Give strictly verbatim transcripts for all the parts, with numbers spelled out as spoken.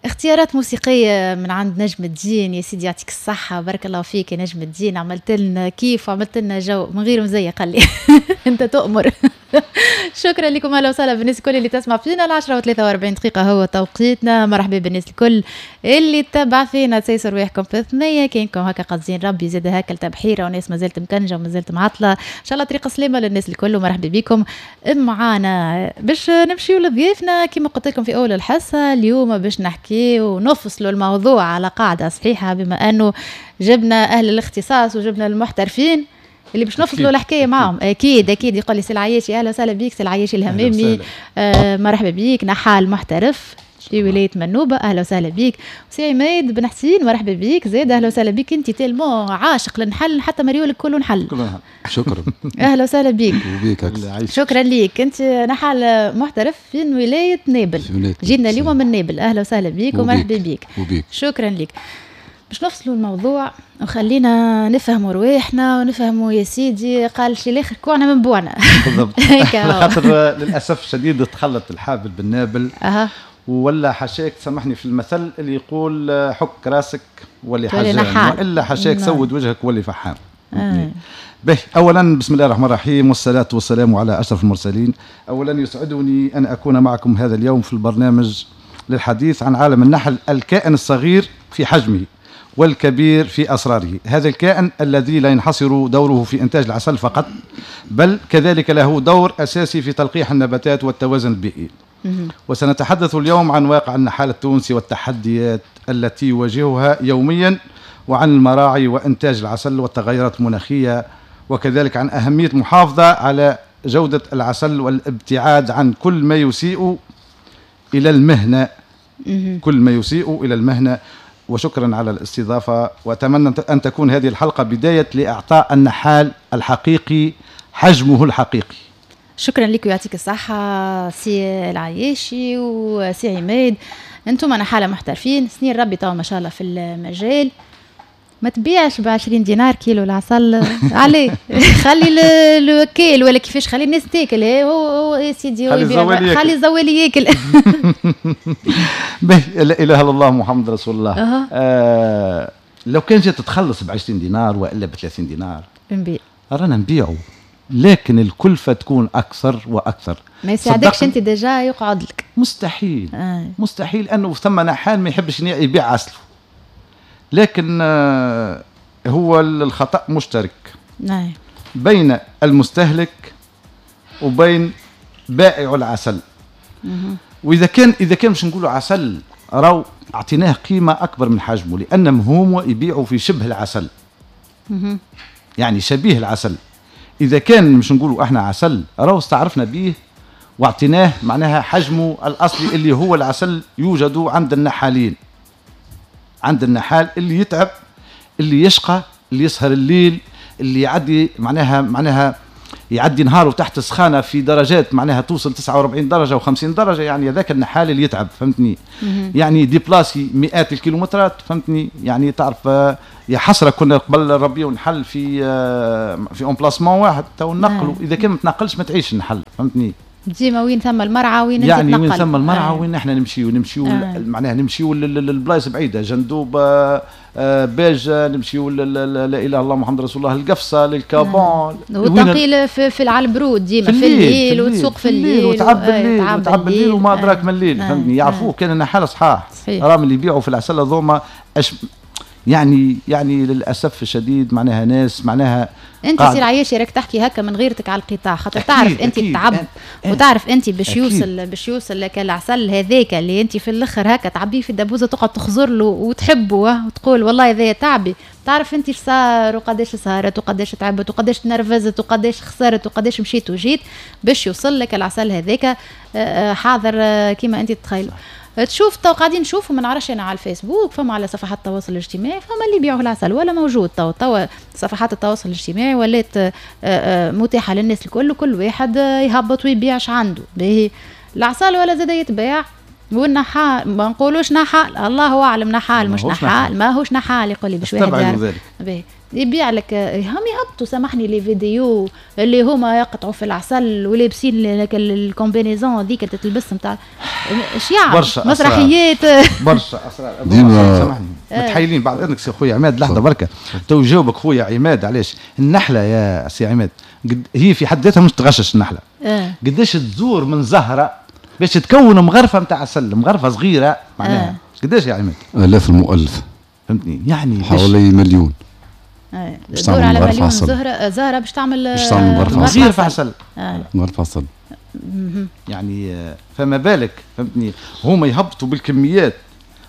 اختيارات موسيقية من عند نجم الدين. يا سيدي يعطيك الصحة، بارك الله فيك يا نجم الدين، عملت لنا كيف وعملت لنا جو من غير مزية. قال لي انت تؤمر. شكرا لكم، اهلا وسهلا بالناس الكل اللي تسمع فينا. العشرة وثلاثة وأربعين دقيقة هو توقيتنا. مرحبا بالناس الكل اللي تتبع فينا، تسيسر رواحكم في ثنية كاينكم هكا قاصدين ربي زاد هكا التبحيرة وناس مازالت مكنجة ومازالت معطلة. ان شاء الله طريق سلامة للناس الكل ومرحبا بكم معانا. باش نمشيو لضيافنا كما قلت لكم في اول الحصة، اليوم باش نحكي ونفصلوا الموضوع على قاعدة صحيحة، بما انه جبنا اهل الاختصاص وجبنا المحترفين اللي باش نفصلوا الحكاية معهم. اكيد اكيد يقول لي سي العياشي، اهلا وسهلا بيك سي العياشي الهمامي، آه مرحبا بيك، نحال محترف في ولاية منوبه، اهلا وسهلا بيك. سي عماد بن حسين مرحبا بيك زاد، اهلا وسهلا بيك. انت tellement عاشق للنحل حتى مريولك كله نحل. شكرا. اهلا وسهلا بيك. وبيك. شكرا ليك. انت نحال محترف في ولاية نابل، جينا اليوم من نابل، اهلا وسهلا بيك ومرحبا بيك. وبيك. شكرا لك. باش نفصلوا الموضوع وخلينا نفهموا رواحنا ونفهموا يا سيدي قال شي الاخر كوعنا من بوعنا. بالضبط. خاطر للاسف الشديد تخلط الحابل بالنابل. أه. ولا حشاك سامحني في المثل اللي يقول حك راسك ولي حجام، والا حشاك سود وجهك ولي فحام. آه. به اولا بسم الله الرحمن الرحيم والصلاة والسلام على اشرف المرسلين. اولا يسعدني ان اكون معكم هذا اليوم في البرنامج للحديث عن عالم النحل، الكائن الصغير في حجمه والكبير في أسراره. هذا الكائن الذي لا ينحصر دوره في إنتاج العسل فقط، بل كذلك له دور أساسي في تلقيح النباتات والتوازن البيئي. وسنتحدث اليوم عن واقع النحال التونسي والتحديات التي يواجهها يوميا، وعن المراعي وإنتاج العسل والتغيرات المناخية، وكذلك عن أهمية المحافظة على جودة العسل والابتعاد عن كل ما يسيء إلى المهنة. كل ما يسيء إلى المهنة. وشكرا على الاستضافة، وأتمنى أن تكون هذه الحلقة بداية لإعطاء النحال الحقيقي حجمه الحقيقي. شكرا لك ويعطيك الصحة سي العياشي وسي عماد. أنتم نحالة محترفين سنين ربي توا ما شاء الله في المجال. ما تبيعش ب عشرين دينار كيلو العسل عليه، خلي الوكيل ولا كيفاش، خلي الناس تاكل. هو هو يا سيدي خلي الزوالي ياكل. باهي، لا اله الا الله محمد رسول الله. أه. آه لو كان جات تخلص ب عشرين دينار والا ب ثلاثين دينار نبيع، رانا نبيعوا، لكن الكلفة تكون اكثر واكثر. ما يساعدكش انت déjà يقعد لك مستحيل. آه. مستحيل انه ثم نحال ما يحبش يبيع عسله، لكن هو الخطأ مشترك. نعم. بين المستهلك وبين بائع العسل. مه. وإذا كان إذا كان باش نقولوا عسل راهو أعطيناه قيمة أكبر من حجمه، لأنهم هما يبيعوا في شبه العسل. مه. يعني شبيه العسل. إذا كان مش نقولوا احنا عسل راهو استعرفنا به واعطيناه معناها حجمه الأصلي اللي هو العسل يوجد عند النحالين. عند النحال اللي يتعب، اللي يشقى، اللي يسهر الليل، اللي يعدي معناها معناها يعدي نهاره تحت سخانه في درجات معناها توصل تسعة وأربعين درجه وخمسين درجه. يعني هذاك النحال اللي يتعب، فهمتني؟ يعني déplacer مئات الكيلومترات، فهمتني؟ يعني تعرف يا حسرة كنا قبل نربيو نحل في في emplacement واحد تو نقلوا. اذا كان ما تنقلش ما تعيش النحل، فهمتني؟ ديما وين ثم المرعى وين انت يعني وين ثم المرعى وين احنا نمشيو نمشيو آه. معناها نمشيو للبلايص بعيدة، جندوبه، آه، باجه، نمشيو لا اله الا الله محمد رسول الله، القفصه، للكابون. آه. والتنقيل في, في على البرود ديما في الليل, وتسوق في الليل وتعب الليل وتعب الليل وما ادراك ما الليل، فهمتني؟ يعرفوه كان النحاله صحاح، راهم اللي يبيعوا في العسل هذوما يعني يعني للاسف الشديد معناها ناس معناها. انت سي العياشي راك تحكي هكا من غيرتك على القطاع، خاطر تعرف انت التعب وتعرف انت باش يوصل باش يوصل لك العسل هذاك اللي انت في الاخر هكا تعبيه في الدبوزه تقعد تخزر له وتحبه وتقول والله هذايا تعبي. تعرف انت اش صار وقداش سهرت وقداش تعبت وقداش تنرفزت وقداش خسرت وقداش مشيت وجيت باش يوصل لك العسل هذاك حاضر كيما انت تتخيل. تشوف تو قاعدين نشوفوا ما نعرفش انا على الفيسبوك، فما على صفحات التواصل الاجتماعي فما اللي يبيعوا العسل ولا موجود. تو تو صفحات التواصل الاجتماعي ولات متاحة للناس الكل، وكل واحد يهبط ويبيع اش عنده. باهي العسل ولا زاد يتباع والنحال ما نقولوش نحال، الله اعلم نحال مش نحال، ماهوش نحال يقول لي باش واحد يعرف. باهي يبيع لك، هم يهبطوا سامحني les vidéos اللي هما يقطعوا في العسل ولابسين ال combinaison هذيك اللي تتلبس نتاع اش يعمل مسرحيات برشا اسرار ديما. سامحني متحيلين بعد اذنك سي خويا عماد لحظة بركة تو جاوبك خويا عماد. علاش النحلة يا سي عماد هي في حد ذاتها مش تغشش النحلة اه. قداش تزور من زهره باش تكون مغرفه نتاع عسل، مغرفه صغيرة معناها اه. قداش يا عماد؟ الاف المؤلف فهمتني يعني حوالي مليون. باش تعمل على مليون زهره زهره باش تعمل باش تعمل مغرفه عسل عسل مغرفه عسل يعني فما بالك فهمتني هما يهبطوا بالكميات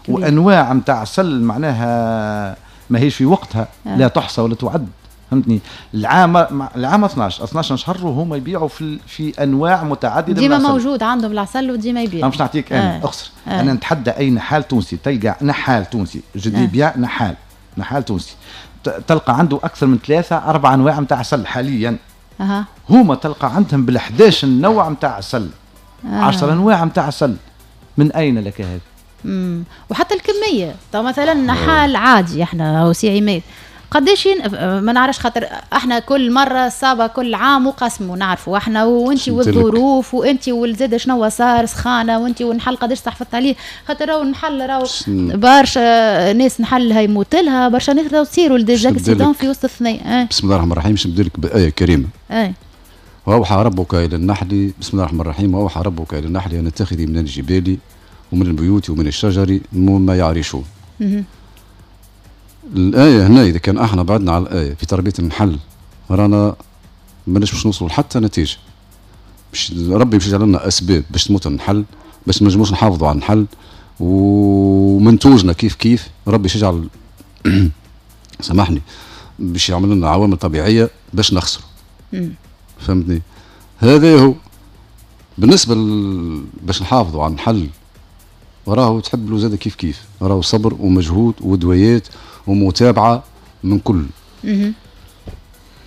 وانواع نتاع عسل معناها ماهيش في وقتها آه. لا تحصى ولا تعد فهمتني. العام العام اثناش اثناش شهر وهما يبيعوا في في انواع متعددة ديما موجود عندهم العسل وديما يبيعوا. انا باش نعطيك انا آه. اخسر آه. انا نتحدى اي نحال تونسي تلقى نحال تونسي je dis bien نحال نحال تونسي تلقى عنده اكثر من ثلاثة اربع انواع نتاع عسل حاليا. أه. هما تلقى عندهم بال11 نوع نتاع عسل عشرة انواع نتاع عسل. من اين لك هذا؟ امم وحتى الكمية. طب مثلا نحال عادي احنا هو سي عماد قداش ما نعرفش خاطر احنا كل مرة صابه كل عام وقسموا نعرفوا احنا وانت والظروف وانت والزاد شنو صار سخانه وانت والنحل قداش تحفظت عليه خاطر راهو النحل راهو برشا ناس نحلها يموت لها برشا ناس راهو تصيروا des accidents في وسط الثنية. اه. بسم الله الرحمن الرحيم. باش نبدا لك بايه كريمة. اه. واوحى ربك الى النحل، بسم الله الرحمن الرحيم، واوحى ربك الى النحل ان اتخذي من الجبال ومن البيوت ومن الشجر مما يعرشون. الآية هنا إذا كان احنا بعدنا على الآية في تربية النحل رانا ماناش باش نوصلوا حتى نتيجة. باش ربي باش يجعل لنا أسباب باش تموت النحل، باش ما نجموش نحافظوا على النحل ومنتوجنا كيف كيف ربي باش يجعل سامحني باش يعمل لنا عوامل طبيعية باش نخسروا. فهمتني؟ هذا هو بالنسبة ل... باش نحافظوا على النحل راهو تحب له زاد كيف كيف، راهو صبر ومجهود ودويات ومتابعة من كل.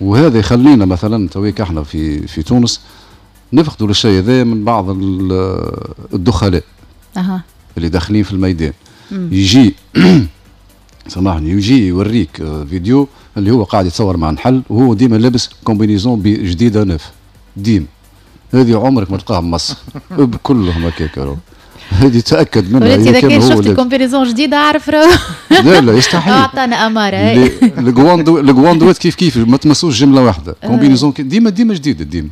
وهذا يخلينا مثلا تويك احنا في في تونس نفقدوا الشيء هذا من بعض الدخلاء أه. اللي داخلين في الميدان. مم. يجي سامحني يجي يوريك فيديو اللي هو قاعد يتصور مع نحل وهو ديما لابس combinaison جديدة neuve ديما، هذه عمرك ما تلقاها بمصر كلهم هكاك، هذه تاكد منها. اذا كان شفت combinaison جديدة اعرف راهو لا لا يستحيل. اعطانا اماره. الكواندوات كيف كيف ما تمسوش جملة واحدة، combinaison ديما ديما جديدة ديما.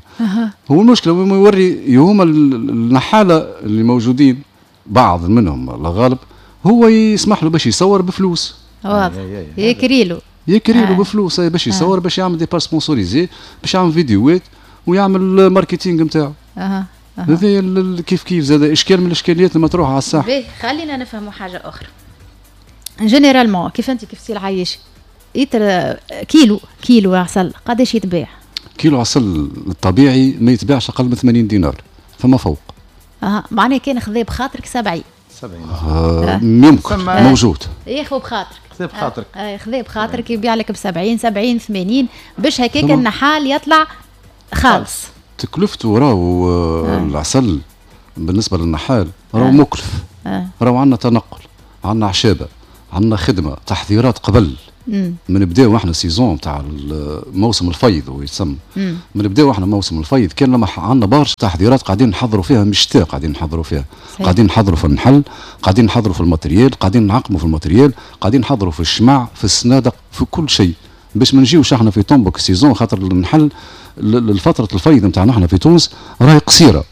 هو المشكلة هو يوري هما النحاله اللي موجودين بعض منهم الله غالب هو يسمح له باش يصور بفلوس. واضح يكريلو يكريلو بفلوس باش يصور، باش يعمل des pages sponsorisées، باش يعمل فيديوهات ويعمل marketing نتاعو. اها هذا كيف كيف زاد اشكال من الاشكاليات المطروحة على الساحة. باهي خلينا نفهموا حاجة اخرى. généralement كيف انت كيف سي العيش يتر كيلو كيلو عسل قداش يتباع؟ كيلو عسل الطبيعي ما يتباعش اقل من ثمانين دينار فما فوق. اه معناها كان خذا بخاطرك سبعين. سبعين آه يمكن آه. موجود. ياخذ بخاطرك. خذا بخاطرك. آه خذا بخاطرك يبيع لك ب سبعين سبعين ثمانين باش هكاك النحال يطلع خالص. تكلفته راهو آه. العسل بالنسبة للنحال راهو آه. مكلف. آه. راهو عندنا تنقل، عندنا عشابه، عندنا خدمة، تحضيرات قبل. مم. من نبداو احنا saison تاع موسم الفيض هو يتسمى. من نبداو احنا موسم الفيض كان لما عندنا برشا تحضيرات قاعدين نحضروا فيها، مش شتاء قاعدين نحضروا فيها. صحيح. قاعدين نحضروا في النحل، قاعدين نحضروا في ال matériel، قاعدين نعقموا في ال matériel، قاعدين نحضروا في الشمع، في الصنادق، في كل شيء باش ما نجيوش احنا في طنبك saison، خاطر النحل الفترة الفيض نتاعنا احنا في تونس راهي قصيرة.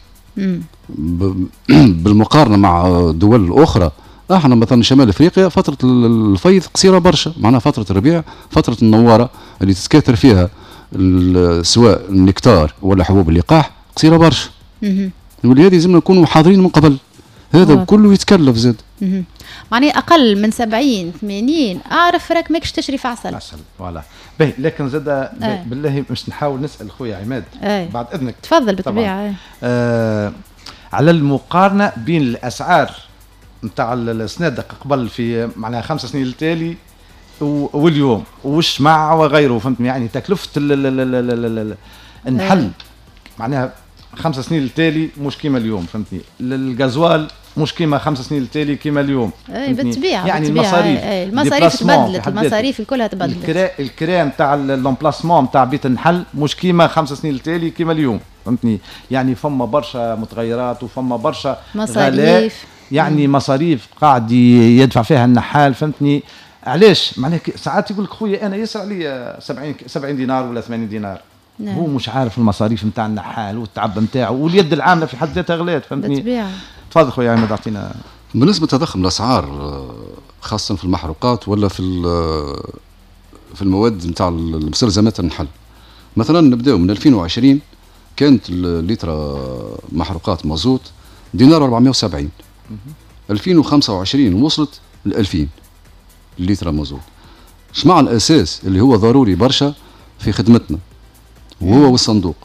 بالمقارنة مع دول اخرى. احنا مثلا شمال افريقيا فترة الفيض قصيرة برشا، معناها فترة الربيع، فترة النواره اللي تتكاثر فيها سواء النكتار ولا حبوب اللقاح قصيرة برشا. ولهذا لازمنا نكونوا حاضرين من قبل. هذا كله يتكلف زاد. معناها اقل من سبعين ثمانين اعرف راك ماكش تشري في عسل. عسل voilà. باهي لكن زاد آه. بالله باش نحاول نسال خويا عماد آه. بعد اذنك. تفضل بالطبيعة. آه على المقارنة بين الاسعار نتاع الصنادق قبل في معناها خمس سنين التالي واليوم والشمع وغيره، فهمتني؟ يعني تكلفة النحل معناها خمس سنين التالي مش كيما اليوم، فهمتني؟ الغازوال مش كيما خمس سنين التالي كيما اليوم. اي بالطبيعة، يعني المصاريف، المصاريف تبدلت، المصاريف كلها تبدلت. الكرا الكرا نتاع l'emplacement نتاع بيت النحل مش كيما خمس سنين التالي كيما اليوم، فهمتني؟ يعني فما برشا متغيرات وفما برشا مصاريف، يعني مصاريف قاعد يدفع فيها النحال، فهمتني؟ علاش؟ معناها ساعات يقول لك خويا انا يسرع لي سبعين سبعين دينار ولا ثمانين دينار. نعم. هو مش عارف المصاريف نتاع النحال والتعب نتاعو واليد العاملة في حد ذاتها غلات، فهمتني؟ بالطبيعة. تفضل خويا عماد اعطينا. بالنسبة لتضخم الاسعار خاصة في المحروقات ولا في في المواد نتاع المستلزمات النحل، مثلا نبداو من ألفين وعشرين كانت اللتر محروقات مازوت دينار أربعمية وسبعين، ألفين وخمسة وعشرين وصلت ل ألفين لتر مازوت. شمع الاساس اللي هو ضروري برشا في خدمتنا وهو والصندوق،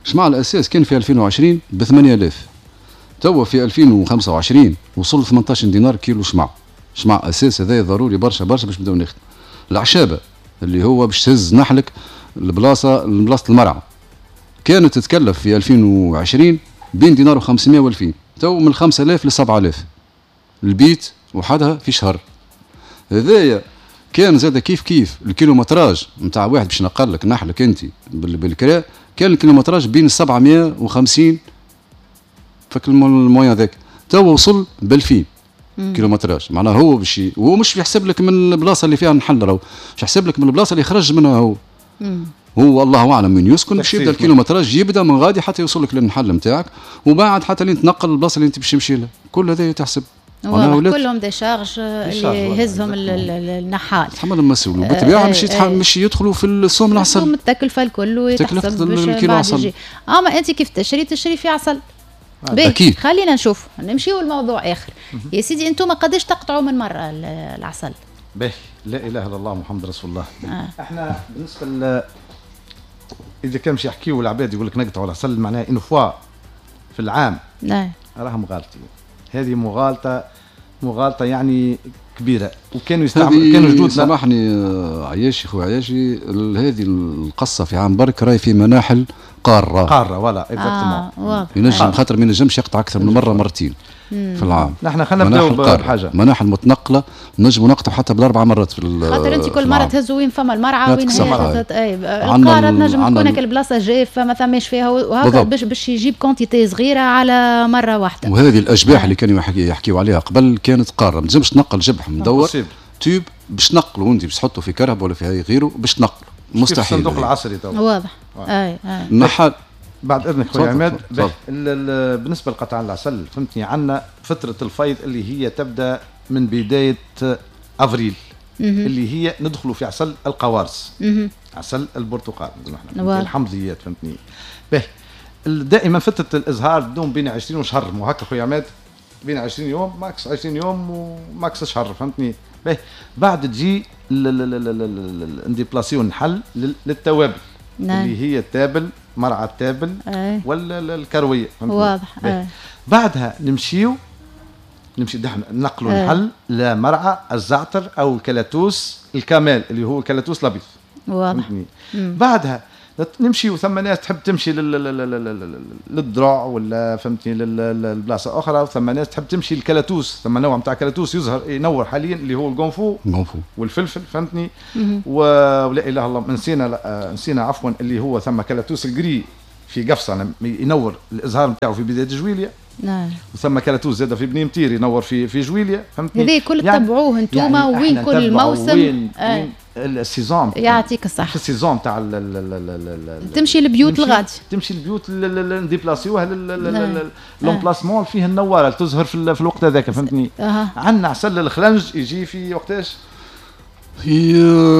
شمع الاساس كان في ألفين وعشرين ب ثمانية آلاف، توا في ألفين وخمسة وعشرين وصل ثمنطاش دينار كيلو شمع. شمع اساس هذا ضروري برشا برشا باش نبداو نخدم. العشابه اللي هو باش تهز نحلك البلاصة لبلاصه المرعى كانت تتكلف في ألفين وعشرين بين دينار وخمسمية وألفين، تو من خمسة آلاف ل سبعة آلاف البيت وحدها في شهر. هذايا كان زاد كيف كيف ال kilométrage نتاع واحد باش نقل لك نحلك انت بالكرا، كان ال kilométrage بين سبعمية وخمسين فك ال moyen ذاك، تو وصل ب ألفين kilométrage. معناها هو باش هو مش يحسب لك من البلاصة اللي فيها النحل، راهو باش يحسب لك من البلاصة اللي خرج منها هو. مم. هو الله اعلم من يسكن، باش يبدا ال kilométrage يبدا من غادي حتى يوصل لك للنحل نتاعك، وبعد حتى لين تنقل البلاصة اللي انت باش تمشي لها، كل هذا يتحسب. كلهم des charges اللي يهزهم النحال، تحمل المسؤول، وبالطبيعه مش مش يدخلوا في السوم العسل، السوم التكلفة الكل ويتحسب باش يجي. اما انت كيف تشري تشري في عسل. باهي، خلينا نشوف نمشيو لموضوع اخر. يا سيدي انتم قداش تقطعوا من مرة العسل؟ باهي، لا اله الا الله محمد رسول الله. آه. احنا بالنسبة ل اذا كان باش يحكيوا العباد يقول لك نقطعوا العسل معناها une fois في العام، نعم، راهم غالطين. هذه مغالطة، مغالطة يعني كبيرة. وكانوا يستعملوا، كانوا جدودنا، سامحني عياشي خويا عياشي، هذه القصة في عام برك راهي في مناحل قارة قارة ولا exactement. آه ينجم خاطر ما ينجمش يقطع اكثر من مرة مرتين مم. في العام. نحن خلينا نبداو بحاجة، مناحل متنقله نجموا نقطع حتى بالاربع مرات في خاطر انت كل مرة تهزوا وين فما المرعى وين هي اي القارة تنجم تكون هكا البلاصة جافة ما ثماش فيها وهكا باش باش يجيب quantité صغيرة على مرة واحدة. وهذه الاجباح اللي كانوا يحكيوا عليها قبل كانت قارة، ما تنجمش تنقل جبح مدور tube باش تنقله انت باش تحطه في كرهب ولا في غيره باش تنقله مستحيل. الصندوق العصري تو واضح. اي اي النحال بعد اذنك خويا عماد. بالنسبة لقطع العسل فهمتني، عندنا فترة الفيض اللي هي تبدا من بداية افريل اللي هي ندخلوا في عسل القوارص، عسل البرتقال نحن الحمضيات، فهمتني. باهي، دائما فترة الازهار تدوم بين عشرين وشهر، مو هكا خويا عماد؟ بين عشرين يوم max عشرين يوم و max شهر، فهمتني. باهي، بعد تجي نديبلاسيو النحل للتوابل. نعم. اللي هي التابل، مرعى التابل ولا الكروية، واضح. أي. بعدها نمشيو نمشي نقلوا النحل لمرعى الزعتر او الكلاتوس الكامال اللي هو الكلاتوس الابيض، واضح. بعدها نمشي، وثم ناس تحب تمشي للدرع ولا فهمتني للبلاصه اخرى، وثم ناس تحب تمشي للكلاتوس، ثم نوع نتاع كلاتوس يظهر ينور حاليا اللي هو القنفو والفلفل، فهمتني. ولا اله الا الله، نسينا نسينا عفوا اللي هو ثم كلاتوس ال gris في قفصه ينور الازهار نتاعو في بداية جويليا. نعم. وثم كلاتوس زاد في بني متير ينور في في جويليا، فهمتني. هذا كل تبعوه انتوما يعني وين كل موسم وين آه. وين ال saison يعطيك الصحة. في ال saison تاع تمشي البيوت الغادي، تمشي البيوت نديبلاسيوها l'emplacement فيه النواره تزهر في, في الوقت هذاك، فهمتني. أه. عندنا عسل الخلنج يجي في وقتاش؟ في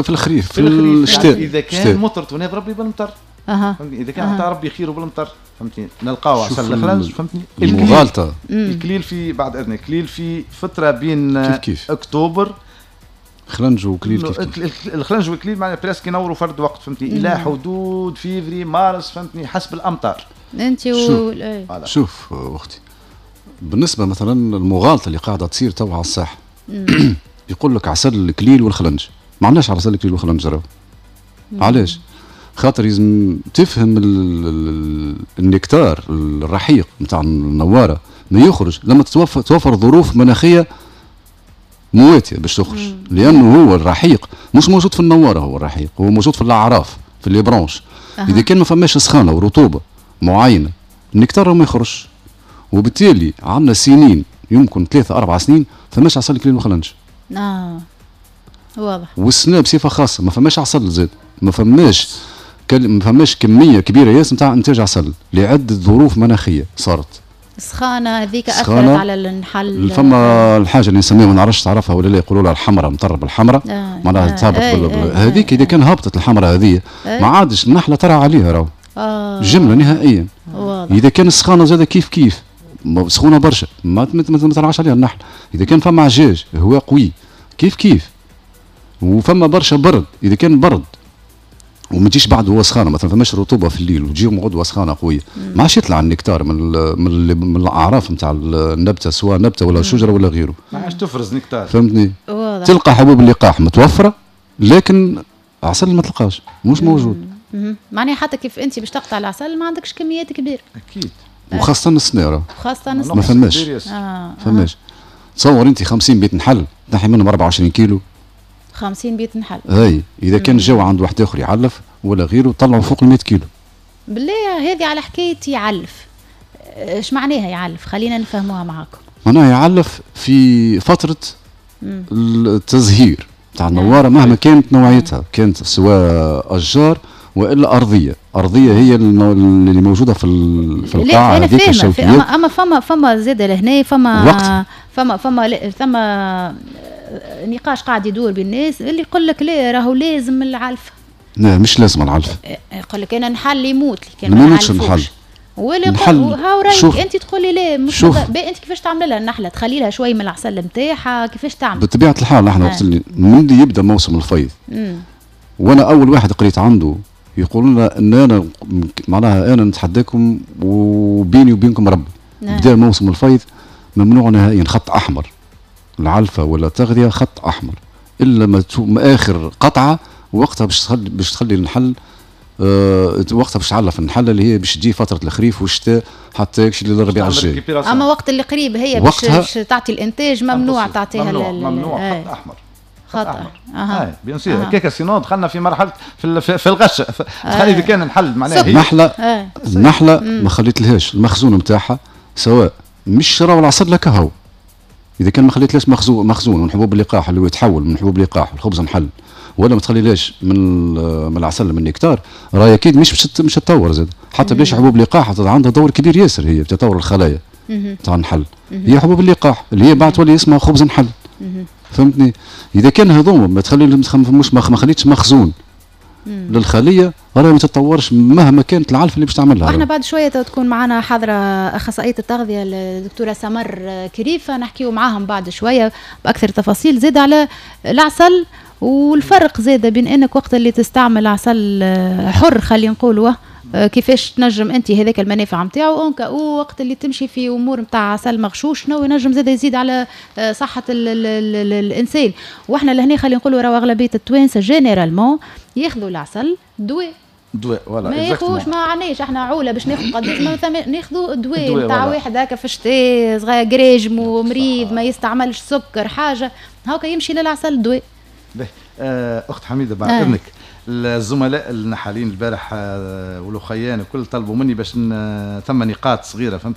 في الخريف، في الشتاء. يعني اذا كان مطرت وناب ربي بالمطر، أه. اذا كان عطى ربي خيره بالمطر، فهمتني، نلقاو عسل الخلنج، فهمتني. المغالطة الكليل في بعد اذنك، الكليل في فترة بين كيف كيف. اكتوبر خلنج وكليل كيف كيف. الخلنج والكليل معناها presque ينوروا فرد وقت، فهمتني، الى حدود فيفري مارس، فهمتني، حسب الامطار. انت و شوف اختي، بالنسبة مثلا المغالطة اللي قاعدة تصير تو على الساحة، يقول لك عسل الكليل والخلنج، ما عندناش عسل الكليل والخلنج راهو. علاش؟ خاطر لازم تفهم النكتار الرحيق نتاع النواره ما يخرج لما تتوفر توفر ظروف مناخيه مواتيه باش تخرج، لانه هو الرحيق مش موجود في النواره، هو الرحيق هو موجود في الاعراف في les branches. أه. اذا كان ما فماش سخانه ورطوبه معينة النكتار ما يخرجش، وبالتالي عندنا سنين يمكن ثلاثة أربع سنين فماش عسل كليل وخلنج. اه واضح. والسنة بصفة خاصة ما فماش عسل زاد، ما فماش ما فماش كمية كبيرة ياسر نتاع انتاج عسل لعدة ظروف مناخيه صارت. السخانه هذيك اثرت على النحل. فما الحاجة اللي نسميها ما نعرفش تعرفها ولا لا، يقولوا لها الحمراء، مطرب الحمراء، آه معناها آه تهبط آه هذيك اذا كان هبطت الحمراء هذه آه ما عادش النحلة ترى عليها راهو آه جملة نهائيا. واضح. اذا كان السخانه زاده كيف كيف سخونة برشا ما ما ترعاش عليها النحل. اذا كان فما عجاج هواء قوي كيف كيف، وفما برشا برد، اذا كان برد وما تجيش بعد هو سخانه مثلا فماش رطوبة في الليل وتجي غدوه سخانه قوية ما عادش يطلع النكتار من ال من, ال من الاعراف نتاع النبتة سواء نبته ولا شجرة ولا غيره، ما عادش تفرز نكتار. فهمتني؟ واضح. تلقى حبوب اللقاح متوفرة لكن عسل ما تلقاش، مش موجود. معناها حتى كيف انت باش تقطع العسل ما عندكش كميات كبيرة. اكيد. وخاصة السناره. خاصة السناره ما فماش. آه. فماش. تصور انت خمسين بيت نحل تنحي منهم أربعة وعشرين كيلو. خمسين بيت نحل. اي اذا كان الجو عند واحد اخر يعلف ولا غيره طلعوا فوق ال مية كيلو. بالله هذه على حكاية يعلف، ايش معناها يعلف؟ خلينا نفهموها معاكم. معناها يعلف في فترة مم. التزهير تاع النواره مهما كانت نوعيتها، كانت سواء اشجار والا ارضية، ارضية هي اللي موجودة في في القاعة هذيك الشوكيات. اما اما فما فما زاد لهنا فما وقت. فما فما فما نقاش قاعد يدور بالناس اللي يقول لك لا راهو لازم العلف. لا مش لازم العلف. يقول لك انا نحل يموت لي كان ما يموتش النحل. ولا هاو رايك انت تقول لي لا مش انت كيفاش تعمل لها النحلة؟ تخلي لها شوية من العسل نتاعها كيفاش تعمل؟ بطبيعة الحال احنا وقت اللي من اللي يبدا موسم الفيض مم. وانا اول واحد قريت عنده يقول لنا ان انا معناها انا نتحداكم وبيني وبينكم ربي. نعم. بدا موسم الفيض ممنوع نهائيا، خط احمر العلفه ولا التغذية خط احمر، الا ما اخر قطعه وقتها باش تخلي باش تخلي النحل أه وقتها باش تعلف النحلة اللي هي باش تجي فترة الخريف والشتاء حتى يكشي للربيع الجاي. اما وقت اللي قريب هي باش تعطي الانتاج ممنوع تعطيها. ممنوع, ممنوع خط احمر. خط احمر. اها bien sûr هكاك sinon دخلنا في مرحلة في في الغش. تخلي اذا كان الحل معناها هي النحلة النحلة ما خليتلهاش المخزون نتاعها سواء مش شراو العسل لك هو. اذا كان ما خليتلاش مخزون مخزون من حبوب اللقاح اللي هو يتحول من حبوب اللقاح الخبز نحل، ولا ما تخليلاش من من العسل من النكتار، راهي اكيد مش مش تتطور زاد. حتى بلاش حبوب اللقاح عندها دور كبير ياسر هي في تطور الخلايا تاع النحل. هي حبوب اللقاح اللي هي بعد تولي اسمها خبز نحل. فهمتني؟ اذا كان هذوما ما تخلي مش ما خليتش مخزون مم. للخليه راهي ما تتطورش مهما كانت العلف اللي باش تعملها. واحنا بعد شوية تكون معنا حاضره اخصائية التغذية الدكتورة سمر كريفة، نحكيو معاهم بعد شوية باكثر تفاصيل زاد على العسل والفرق زاد بين انك وقت اللي تستعمل عسل حر خلينا نقولوا كيفاش تنجم انت هذاك المنافع نتاعو، en cas وقت اللي تمشي في امور نتاع عسل مغشوش شنو ينجم زاد يزيد على صحة ال ال ال الانسان. واحنا لهنا خلينا نقولوا راهو اغلبية التوانسة généralement ياخذوا العسل دواء دواء ولا ما ياخذوش، ما عناش احنا عوله باش ناخذ قداش ما ناخذوا دواء نتاع واحد هكا في الشتاء صغير قريجم ومريض ما يستعملش سكر حاجة هاكا يمشي للعسل دواء. اخت حميده بعد آه. اذنك الزملاء النحالين البارح والاخيان وكل طلبوا مني باش ثم نقاط صغيرة فهمت.